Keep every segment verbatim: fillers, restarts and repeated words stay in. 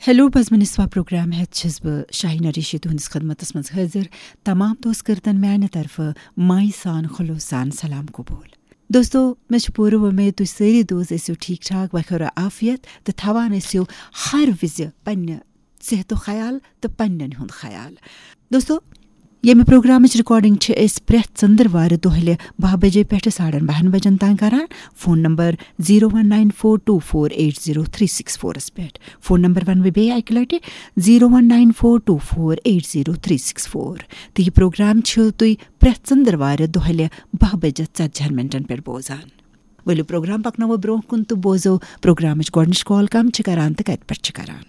Hello بزمِ نسواں programme ہیتھ چھس بہٕ شاہینہ ریشی تُہنٛدِس خدمتس منٛز حٲضِر۔ تمام دوست کٔرتن میانہِ طرفہٕ مایہِ سان خلوص سان سلام قبول۔ دوستو، مےٚ چھِ پوٗرٕ وۄمید تُہۍ سٲری دوست ٲسِو ٹھیٖک ٹھاک، وخیر و عافیت تہٕ تھاوان ٲسِو ہر وِزِ پننہِ صحتُک خیال تہٕ پننٮ۪ن ہُنٛد خیال۔ دوستو، ییٚمہِ پروگرامٕچ ریکارڈنگ چھِ أسۍ پرٛٮ۪تھ ژٔنٛدٕروارِ دۄہلہِ باہ بجے پٮ۪ٹھٕ ساڑن باہن بجن تام کران۔ Phone number zero one nine four two four eight zero three six فورس پٮ۪ٹھ۔ فون نمبر ونہٕ بہٕ بیٚیہِ اکہِ لٹہِ، zero one nine four two four eight zero three six four. تہٕ یہِ پروگرام چھِو تُہۍ پرٛٮ۪تھ ژٔنٛدٕروارِ دۄہلہِ باہ بجے ژتجی ہن منٹن پٮ۪ٹھ بوزان۔ ؤلِو پروگرام پکناوو برونٛہہ کُن تہٕ بوزو پروگرامٕچ گۄڈٕنِچ کال کم چھِ کران تہٕ کتہِ پٮ۪ٹھ چھِ کران۔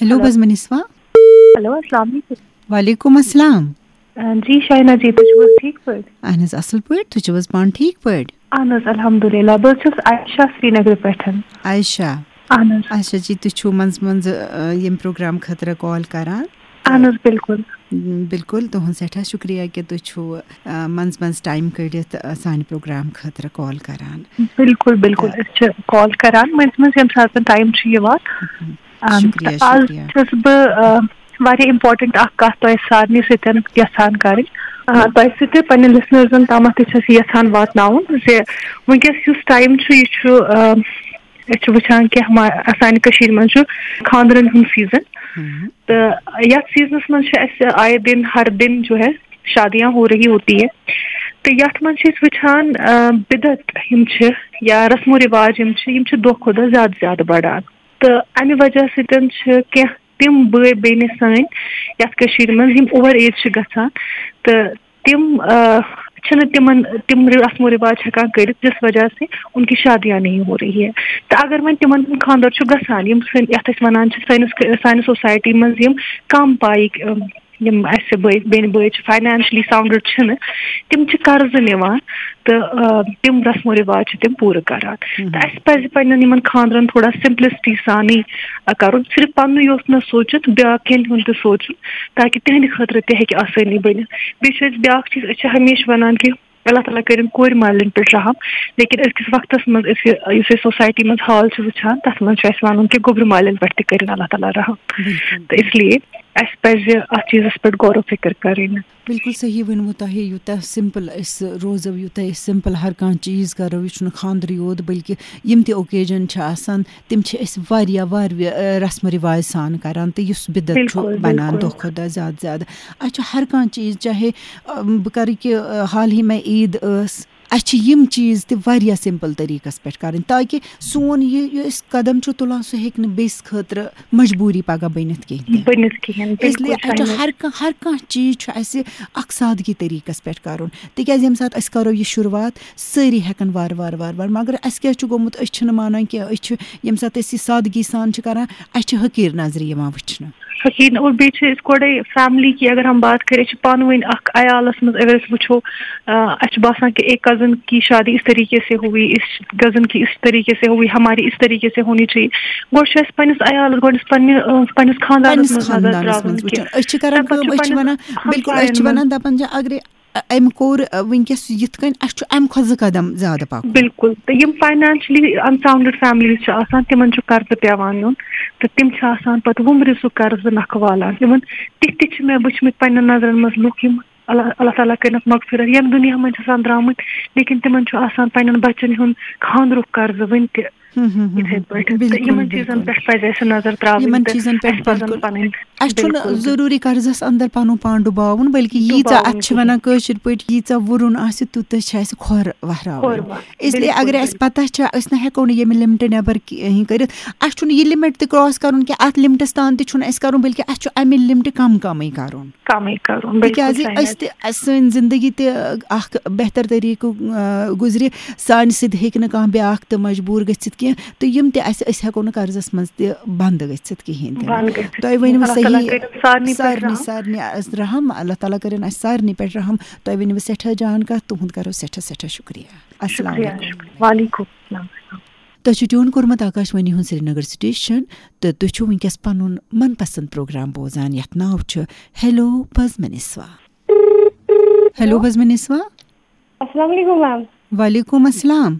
Hello hello. بزمِ نسواں۔ ہیلو، السلام علیکم۔ وعلیکم السلام۔ آ، جی شاہینہ جی، تُہۍ چھِو حظ ٹھیٖک پٲٹھۍ؟ اہن حظ، اصل پٲٹھۍ۔ تُہۍ چھِو حظ پانہٕ ٹھیٖک پٲٹھۍ؟ اہن حظ، الحمدللہ۔ بہٕ حظ چھَس عائشہ سرینگرٕ پٮ۪ٹھ۔ عائشہ۔ اہن حظ۔ اچھا جی، تُہۍ چھِو منٛزٕ منٛزٕ، آ، ییٚمہِ پروگرام خٲطرٕ کال کران؟ اہن حظ، بِلکُل۔ م، بِلکُل، تُہُنٛد سٮ۪ٹھاہ شُکریہ کہِ تُہۍ چھِو، آ، منٛزٕ منٛزٕ ٹایم کٔڑِتھ، آ، سانہِ پروگرام خٲطرٕ کال کران۔ بِلکُل، بِلکُل۔ تہٕ أسۍ چھِ کال کران مٔنٛزۍ مٔنٛزۍ ییٚمہِ ساتہٕ ٹایم چھُ یِوان۔ مہم۔ آ، شُکریہ، تہٕ آز شُکریہ۔ چھَس بہٕ، آ، واریاہ امپورٹنٹ اکھ کتھ تۄہہِ سارنٕے سۭتۍ یژھان کرٕنۍ۔ آ، تۄہہِ سۭتۍ تہِ پننٮ۪ن لسنرزن تامتھ تہِ چھَس یژھان واتناوُن زِ وٕنکیٚس یُس ٹایم چھُ، یہِ چھُ، آ، أسۍ چھِ وٕچھان کہِ ہما-، سانہِ کٔشیٖرِ منٛز چھُ خانٛدرن ہُنٛد سیزن۔ ہم۔ تہٕ یتھ سیزنس منٛز چھِ اَسہِ آئے دن ہر دن جو ہے شادیاں ہو رہی ہوتی ہے۔ تہٕ یتھ منٛز چھِ أسۍ وٕچھان، آ، بدعت یِم چھِ یا رسم و رواج یِم چھِ، یِم چھِ دۄہ کھۄتہٕ دۄہ زیادٕ زیادٕ بڑان۔ تہٕ امہِ وجہ سۭتۍ چھِ کینٛہہ تِم بٲے بیٚنہِ سٲنۍ یتھ کٔشیٖرِ منٛز یِم اوور ایج چھِ گژھان تہٕ تِم، آ، چھِنہٕ تِمن تِم رسم و رواج ہٮ۪کان کٔرِتھ، جس وجہ سے ان کی شادیاں نہیں ہو رہی ہے۔ تہٕ اگر وۄنۍ تِمن ہُنٛد خانٛدر چھُ گژھان، یِم سٲنۍ، یتھ أسۍ ونان چھِ سٲنِس، سانہِ سوسایٹی منٛز یِم کم پایِکۍ، آ، یِم اَسہِ بٲے، بیٚنہِ بٲے چھِ، فاینانشلی ساؤنڈڈ چھِنہٕ، تِم چھِ قرضہٕ نِوان تہٕ، آ، تِم رسم و رواج چھِ تِم پوٗرٕ کران۔ مہم۔ تہٕ اَسہِ پَزِ پنٛنٮ۪ن یِمن خانٛدرن تھوڑا سمپلسٹی سانٕے، آ، کرُن، صرف پننُے یوت نہٕ سوٗنٛچِتھ، بیٛاکھ کٮ۪ن ہُنٛد تہِ سوٗنٛچُن، تاکہِ تِہنٛدِ خٲطرٕ تہِ ہیٚکہِ آسٲنی بٔنِتھ۔ بیٚیہِ چھِ أسۍ بیٛاکھ چیٖز، أسۍ چھِ ہمیشہِ ونان کہِ اللہ تعالیٰ کٔرِن کورِ مالٮ۪ن پٮ۪ٹھ رحم، لیکن أزکِس وقتس منٛز أسۍ یہِ، یُس أسۍ سوسایٹی منٛز حال چھِ وٕچھان، تتھ منٛز چھُ اَسہِ ونُن کہِ گوٚبرِ مالٮ۪ن پٮ۪ٹھ تہِ کٔرِن اللہ تعالیٰ رحم۔ بِلکُل۔ تہٕ اس لیے اَسہِ پَزِ اَتھ چیٖزَس پٮ۪ٹھ غور و فِکر کَرٕنۍ۔ بِلکُل صحیح ؤنمُت تۄہہِ، یوٗتاہ سِمپٕل أسۍ روزو، یوٗتاہ أسۍ سِمپٕل ہر کانٛہہ چیٖز کَرو، یہِ چھُنہٕ خانٛدرٕے یوت، بلکہِ یِم تہِ اوکیجن چھِ آسان، تِم چھِ أسۍ واریاہ، واریاہ، ٲں، رسم و رواج سان کَران، تہٕ یُس بِدعت چھُ بِلکُل، بَنان بِلکُل۔ دۄہ کھۄتہٕ دۄہ زیادٕ زیادٕ۔ اَسہِ چھُ ہر کانٛہہ چیٖز، چاہے، ٲں، بہٕ کَرٕ کہِ، ٲں، حال ہی میں عیٖد ٲس، اَسہِ چھِ یِم چیٖز تہِ واریاہ سِمپٕل طٔریٖقَس پٮ۪ٹھ کَرٕنۍ، تاکہِ سون یہِ، یہِ أسۍ قدم چھُ تُلان، سُہ ہیٚکہِ نہٕ بیٚیِس خٲطرٕ مجبوٗری پگاہ بٔنِتھ کِہیٖنۍ تہِ۔ بٔنِتھ کِہیٖنۍ، اس لیے بِلکُل اَسہِ چھُ صحیح۔ ہر کانٛہہ، ہر کانٛہہ چیٖز چھُ اَسہِ اَکھ سادگی طٔریٖقَس پٮ۪ٹھ کَرُن، تِکیٛازِ ییٚمہِ ساتہٕ أسۍ کَرو یہِ شروٗعات، سٲری ہٮ۪کَن وارٕ وارٕ، وارٕ وارٕ، مگر اَسہِ کیٛاہ چھُ گوٚمُت، أسۍ چھِنہٕ مانان کینٛہہ، أسۍ چھِ، ییٚمہِ ساتہٕ أسۍ یہِ سادگی سان چھِ کَران، اَسہِ چھِ حقیٖر نظرِ یِوان وٕچھنہٕ۔ حقیٖر، اور بیٚیہِ چھِ أسۍ گۄڈَے فیملی کی اگر ہم بات کریں، أسۍ چھِ پانہٕ ؤنۍ اَکھ عیالَس منٛز اگر أسۍ وٕچھو، آ، اَسہِ چھُ باسان کہ ایک کزن کی شادی اس طریقے سے ہوئی، اس کزن کی اس طریقے سے ہوئی، ہماری اس طریقے سے ہونی چاہیے۔ گۄڈٕ چھُ اَسہِ پنٛنِس عیالَس، گۄڈٕ چھُ پنٛنہِ، آ، پنٛنِس خانٛدانَس پنٛنِس منٛز نظر خانٛدانَس ترٛاوٕنۍ منٛز کہِ وٕچھُن۔ أسۍ چھِ کران تَمہِ پَتہٕ کٲم، چھُ أسۍ چھِ پنٛنِس وَنان، بِلکُل، أسۍ چھِ ہمساین وَنان، منٛز۔ دَپان چھِ، اگرے أمۍ کوٚر، آ، وٕنکیٚس یِتھ کٔنۍ، اَسہِ چھُ اَمہِ کھۄتہٕ زٕ قدم زیادٕ پَکُن۔ بِلکُل۔ تہٕ یِم فاینانشلی اَنساؤنڈڈ فیملیٖز چھِ آسان، تِمَن چھُ قرضہٕ پٮ۪وان نیُن، تہٕ تِم چھِ آسان پَتہٕ وُمرِ سُہ قرضہٕ نَکھٕ والان۔ یِمَن تِتھۍ تہِ چھِ مےٚ وٕچھمٕتۍ پنٛنٮ۪ن نظرَن منٛز لُکھ، یِم اللہ، اللہ تعالیٰ کٔرِنَکھ مغفرت، یِم دُنیا منٛز چھِ آسان درٛامٕتۍ، لیکن تِمَن چھُ آسان پنٛنٮ۪ن بَچَن ہُنٛد خانٛدرُک قرضہٕ وٕنہِ تہِ۔ ہُم، ہُم، ہُم، یِتھَے ہُم۔ پٲٹھۍ۔ تہٕ بِلکُل، یِمَن چیٖزَن بِلکُل۔ پٮ۪ٹھ پَزِ اَسہِ نظر ترٛاوٕنۍ یِمَن تہٕ چیٖزَن پٮ۪ٹھ، اَسہِ پَزَن بِلکُل۔ پَنٕنۍ، اَسہِ چھُنہٕ بِلکُل۔ ضروٗری قرضَس اندر پَنُن پان ڈُباوُن، بلکہِ ییٖژاہ، ڈُباوُن اَتھ چھِ وَنان کِہیٖنۍ۔ کٲشِر پٲٹھۍ، ییٖژاہ وُرُن آسہِ، تیوٗتاہ چھِ اَسہِ کھۄر وَہراوٕنۍ۔ کھۄر وَ-، اس لیے بِلکُل، اگر اَسہِ بِلکُل۔ پَتہ چھِ، أسۍ نہ ہٮ۪کو نہٕ ییٚمہِ لِمٹہٕ نٮ۪بر کِہیٖنۍ کٔرِتھ، اَسہِ چھُنہٕ یہِ لِمٹ تہِ کراس کَرُن کینٛہہ، اَتھ لِمٹَس تام تہِ چھُنہٕ اَسہِ کَرُن، بلکہِ اَسہِ چھُ اَمہِ لِمٹہٕ کَم کَمٕے کَرُن۔ کَمٕے کَرُن، بِلکُل تِکیٛازِ صحیح۔ أسۍ تہِ، اَسہِ، سٲنۍ زِندگی تہِ اَکھ بہتر طریٖقہٕ، آ، گُزرِ، سانہِ سۭتۍ ہیٚکہِ نہٕ کانٛہہ بیٛاکھ تہِ مجبوٗر گٔژھِتھ کینٛہہ، تہٕ یِم تہِ اَسہِ، أسۍ ہٮ۪کو نہٕ قرضَس منٛز تہِ بنٛد گٔژھِتھ کِہیٖنۍ تہِ نہٕ۔ بنٛد گٔژھِتھ تۄہہِ کِہیٖنۍ۔ ؤنِو اللہ تعالیٰ صحیح، کٔرِنۍ سارنٕے پٮ۪ٹھ سارنٕے، رحم۔ سارنٕے اَسہِ رحم، اللہ تعالیٰ کٔرِنۍ اَسہِ سارنٕے پٮ۪ٹھ رحم۔ تۄہہِ ؤنِو صٮ۪ٹھاہ جان کَتھ، تُہُنٛد کَرو سٮ۪ٹھاہ، سٮ۪ٹھاہ شُکریہ۔ السلام شُکریہ۔ علیکُم۔ وعلیکُم السلام۔ تۄہہِ چھُ ٹیوٗن کوٚرمُت آکاشوانی ہُنٛد سرینگر سٹیشن تہٕ تُہۍ چھِو وٕنکیٚس پنُن من پسند پروگرام بوزان، یتھ ناو چھُ ہیلو بزمِ نسواں۔ ہیلو بزمِ نسواں۔ السلام علیکم میم۔ وعلیکم السلام۔